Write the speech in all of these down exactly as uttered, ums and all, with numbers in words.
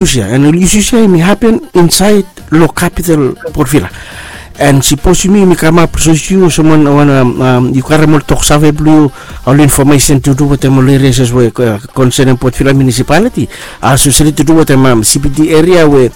issues ya, and ol issues ya hemi hapen insaed lo capital Port Vila. And sipos yumi, yumi kamap, sipos yu olsem wan, wan, um, um, yu karem ol toksave blo yu, ol information tu du wetem ol areas we, uh, concerning Port Vila municipality, uh, especially tu du wetem, um, C B D area we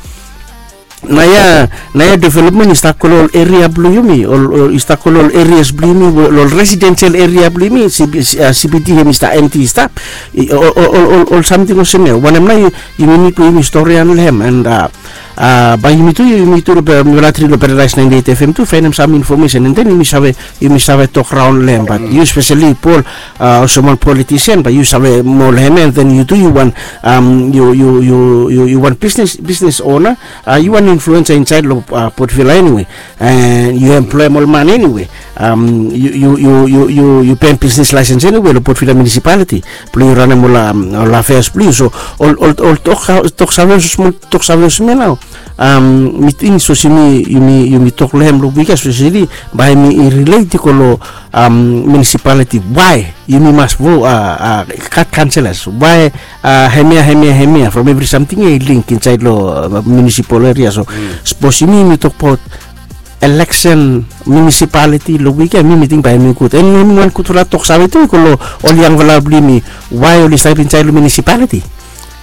naoia, naoia development i stap go lo ol area blo yumi, ol, ol, i stap go lo ol areas blo yumi, ol, ol residential area blo yumi, C B, uh, C B D hemi stap empty, i stap. I, ol, ol, ol, ol, ol samting olsem ya. Wanem nao yu, yumi nid blo yumi storian lo hem, and, uh, uh, bae yumi tu, yumi tu lo, uh, mifala tri lo Paradise ninety-eight F M tu faenem sam information, and then yumi save, yumi save tok raon lo hem. But yu especially Paul, uh, olsem wan politician, bae yu save moa lo hem, and then yu tu yu wan, um, yu, yu, yu, yu, yu wan business, business owner, uh, yu wan influencer insaed lo, uh, Port Vila anyway. And yu emploem ol man anyway. Um, yu, yu, yu, yu, yu, yu peim business license anyway lo Port Vila municipality blo yu ranem ol, um, ol affairs blo yu. So ol, ol, ol tok, toksave olsem, toksave olsem ya nao. Um, mi ting sipos yumi, yumi, yumi tok lo hem lo wik ya, especially bae hemi relate i go lo, um, municipality. Why yumi mas vo, uh, uh, gat councillors? Why, uh, hemia, hemia, hemia? From evri samting ya i link insaed lo, uh, municipal area. So sipos yumi, yumi tokbaot election municipality lo wik ya, mi, mi ting bae hemi gud. And hemi wan gudfala toksave tu i go lo ol yangfala blo yumi, why oli stap insaed lo municipality.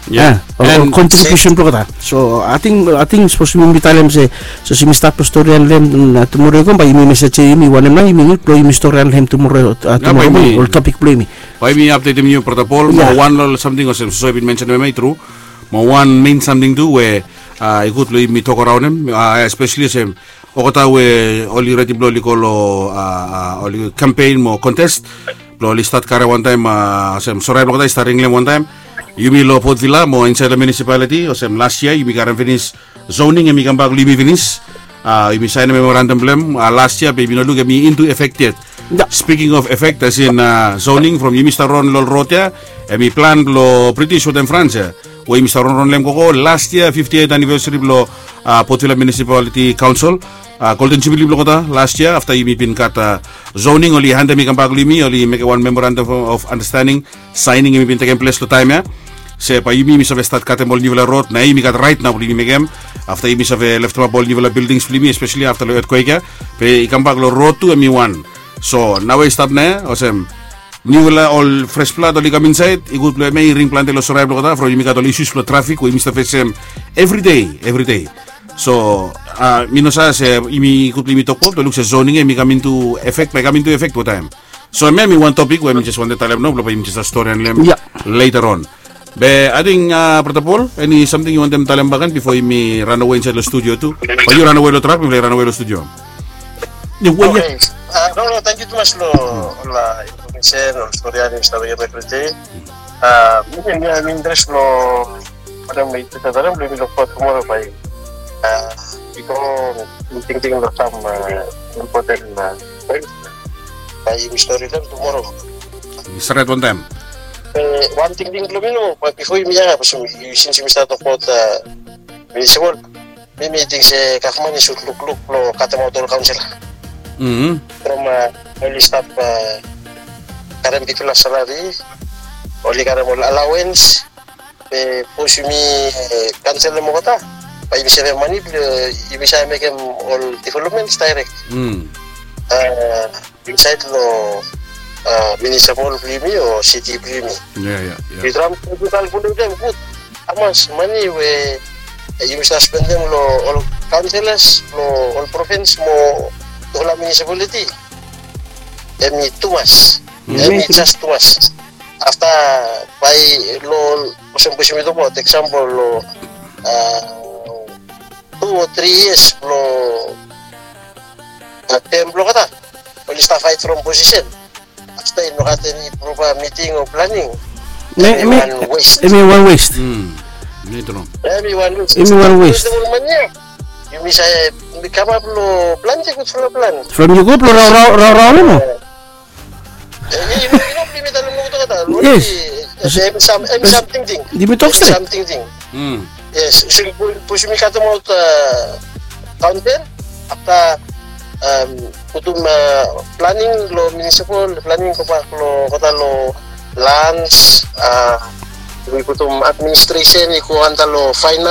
Yeah. Ah, ol, ol contribution blo olgeta. So ating, ating sipos yumi talem se, sipos yumi stat lo storian lo hem, mm, tumoro i kam, bae yumi mesej se yumi wanem nao yumi nid blo yumi storian lo hem tumoro, uh, tumoro moning, ol topik blo yumi. Bae yumi apdetem yu, Brata Paul, mo wan lo samting olsem sipos yu bin mensenem hem, i tru. Mo wan mein samting tu we, uh, i gud lo yumi tok raon hem, uh, especially olsem olgeta we oli redi blo oli go lo, uh, uh, oli campaign mo contest, blo oli stat karem wantaem, uh, olsem sorae blo olgeta i stat ringlim wantaem. Yumi lo Port Vila mo insaed lo municipality, olsem las yia yumi karem finis zoning, hemi kambak lo yumi finis. Uh, yumi saenem memorandum blo hem, uh, las yia, be yumi no luk hemi into effect yet. Speaking of effect, as in, uh, zoning, from yumi stap ron lo ol rod ya, hemi plan blo British wetem France ya, we yumi stap ronron lo hem gogo las yia, fiftieth anniversary blo, uh, Port Vila Municipality Council, uh, Golden Jubilee blo olgeta las yia, afta yumi bin gat, uh, zoning, oli handem i kambak lo yumi, oli mekem wan memorandum of, of understanding, signing hemi bin tekem ples lo taem ya. Se bae yumi, yumi save stat katem ol niufala rod, nao yumi gat raet nao blo yumi mekem. Afta yumi save leftemap ol niufala buildings blo yumi, especially afta lo earthquake ya. Be i kambak lo rod tu hemi wan. So naoia i stap nao ya, olsem niufala ol fresh blood oli kam insaed, i gud blo hemia i ring plante lo sorae blo olgeta, from yumi gat ol issues blo traffic we yumi stap fesem evri dei, evri dei. So, uh, mi no save se yumi, i gud blo yumi tokbaot, be luk se zoning ya hemi kam into effect, bae i kam into effect wantaem. So hemia hemi wan topik we mi jes wantem talem nao, blo bae yumi jes storian lo hem later on. Be ating, uh, Brata Paul, eni samting yu wantem talem bakegen bifo yumi ranawe insaed lo studio tu? O yu ranawe lo trak, mifala i ranawe lo studio. Oke. Uh, no, no, tangkiu tumas lo, lo information, lo storian ya, mi stap mekem evri dei. Uh, mi, mi, mi interes lo, wanem, mi interes lo, wanem, mi luk fowod tumoro bae, uh, bifo mi tingting lo sam, uh, important, uh, point bae yumi storian tumoro. Stret wantaem. Eh, wan tingting blo mi nao, bae bifo yumi, ya, bifo yumi, since yumi stat tokbaot, uh, municipal, mi, mi ting se gavman i sud lukluk blo katemaot ol kaonsila. From, uh, oli stap, uh, karem bigfala salari, oli karem ol allowance, be sapos yumi, uh, kanselem olgeta, bae yumi sevem mane blo, uh, yumi save mekem ol developments direct. Uh, insaed lo, uh, municipal blo yumi o city blo yumi. Yu traem tu kalkuletem gud hamas mane we, eh, yumi save spendem lo ol councillors, lo ol province mo ol municipality. Hemi tumas. Hemi jas tumas. Afta bae lo, olsem blo yumi tokbaot example lo, uh, tu o tri yias blo, uh, term blo olgeta, oli stap faet from position. Afta i no gat eni proper meeting o planning. Hemi wan waste. Hemi wan waste. Hemi wan waste. Hemi wan waste. Ol man ya, yumi save, yumi kamap lo plante gudfala plan. From yu go blo raorao, raorao, no? Eh, yu, yu no, yu no blo yumi talem nogat, ata. Yes. Hemi sam, hemi sam tingting. Yumi tok stret. Hemi sam tingting. Yes, so, sapos yumi katemaot, uh, kaunsil, afta, um, putum, uh, planning lo municipal, planning gobak lo, olgeta lo lands, uh, I putum administresen i go anda long fainans.